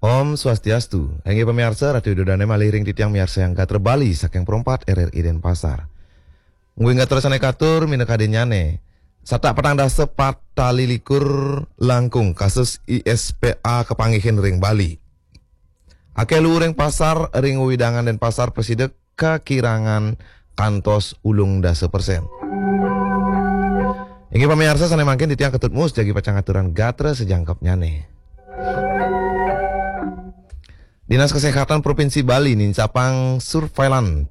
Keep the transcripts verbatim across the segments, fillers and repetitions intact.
Om Swastiastu. Inggih pamiarsa, Ratu Ida Dané malih ring titiang miarsayang gatra Bali saking Pro empat R R I Denpasar. Ngguing gatra sané katur minakadinyané. Satak patang dasa pat tali likur langkung kasus I S P A kapanggihin ring Bali. Akéh luu ring pasar ring wewidangan Denpasar prasida kakirangan kantos ulung dasa persen. Inggih pamiarsa sané mangkin titiang Ketut Mus jagi pacang ngaturang gatra sajangkepnyané. Dinas Kesehatan Provinsi Bali nincapang surveilan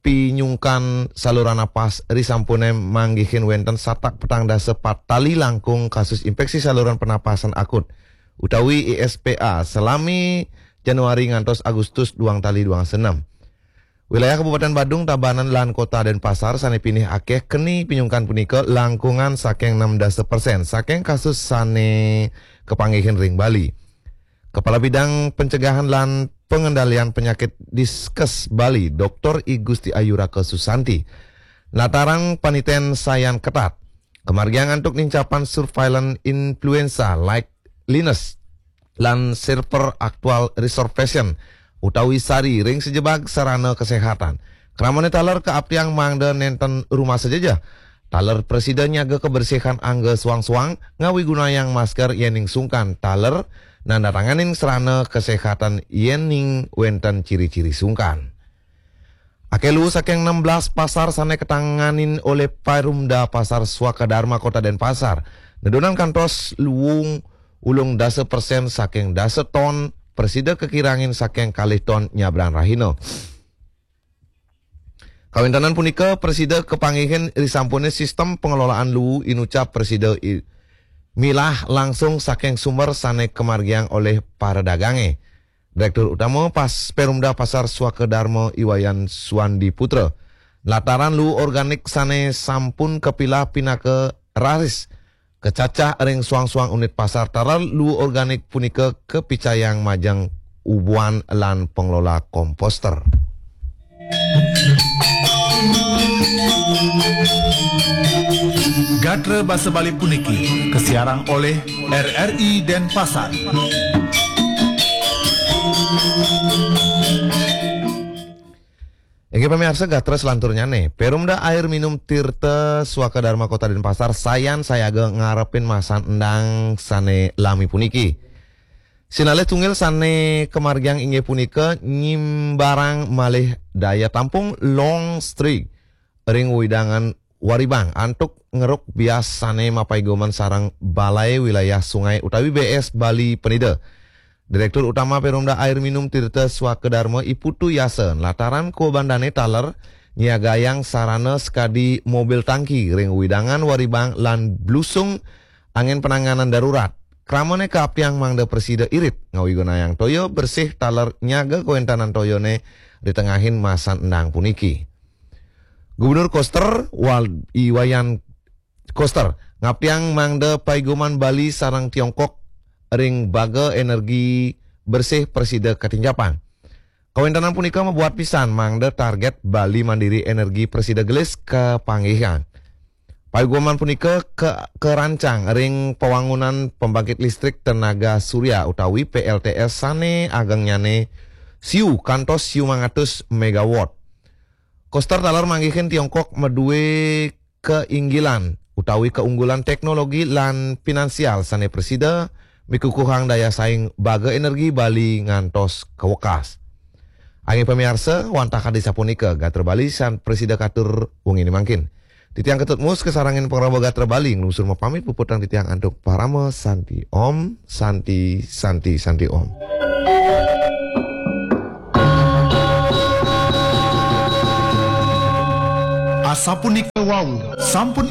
pinyungkan saluran napas risampuné manggihin wénten satak patang dasa pat tali langkung kasus inféksi saluran pernapasan akut utawi I S P A salami Januari ngantos Agustus duang tali duang dasa enam. Wilayah Kabupaten Badung, Tabanan, lan Kota Denpasar sané pinih akéh keni pinyungkan punika langkungan saking enam dasa persen saking kasus sané kapanggihin ring Bali. Kepala Bidang Pencegahan lan Pengendalian Penyakit Diskes Bali, Doktor I Gusti Ayu Raka Susanti, nataran paniten sayan ketat kamargiang antuk nincapang surveilan influenza like Linus lan server aktual reservation utawi sari ring sajebag sarana kesehatan. Kramané taler kaaptiang mangda nénten rumasa jejeh. Taler prasida nyaga kebersihan angga suang-suang, ngawigunayang masker yéning sungkan. Taler nandatanganing sarana kesehatan yéning wénten ciri-ciri sungkan. Akéh luu saking enam belas pasar sané katanganin olih Perumda Pasar Swaka Dharma Kota Denpasar nedunan kantos luung ulung dasa persen saking dasa ton, prasida kakirangin saking kalih ton nyabran rahina. Kawéntenan punika prasida kapanggihin risampuné sistem pengelolaan luu inucap prasida i-, milah langsung saking sumber sané kamargiang olih para dagangé. Direktur Utama Pas Perumda Pasar Swaka Dharma I Wayan Suwandi Putra, nataran luu organik sané sampun kapilah pinaka raris kacacah ring suang-suang unit pasar. Taler luu organik punika kapicayang majeng ubuhan lan pengelola komposter. Gatra basa Bali puniki kasiarang olih R R I Denpasar. Inggih pamiarsa, gatra selanturnyané, Perumda Air Minum Tirta Swaka Dharma Kota Denpasar sayan sayaga ngarepin masan endang sané lami puniki. Sinalih tunggil sané kamargiang inggih punika nyimbarang malih daya tampung long string ring wewidangan Waribang antuk ngeruk bias sané mapaigoman sareng Balai Wilayah Sungai utawi B S Bali Penida. Direktur Utama Perumda Air Minum Tirta Swaka Dharma I Putu Yasa nataran kabebandané taler nyiagayang sarana sakadi mobil tangki ring wewidangan Waribang lan blusung angin penanganan darurat. Kramané kaaptiang mangda prasida irit ngawigunayang toya bersih taler nyaga kawéntenan toyané di tengahin masan endang puniki. Gubernur Koster, Wal-, I Wayan Koster, ngaptiang mangda paigoman Bali sareng Tiongkok ring baga energi bersih prasida katincapang. Kawéntenan punika mabuat pisan mangda target Bali Mandiri Energi prasida gelis kapanggihan. Paigoman punika ka-, karancang ring pawangunan pembangkit listrik tenaga surya utawi P L T S sané agengnyané siu kantos siu mangatus megawatt. Koster taler manggihin Tiongkok madué kainggilan utawi kaunggulan teknologi lan finansial sané prasida mikukuhang daya saing baga energi Bali ngantos kawekas. Inggih pamiarsa, wantah kadi sapunika gatra Bali sané prasida katur wenginé mangkin. Titiang Ketut Mus kasarengin pangraba gatra Bali nglungsur mapamit puputang titiang antuk parama santi. Om Santi, Santi, Santi Om. Asapunika wau, sampun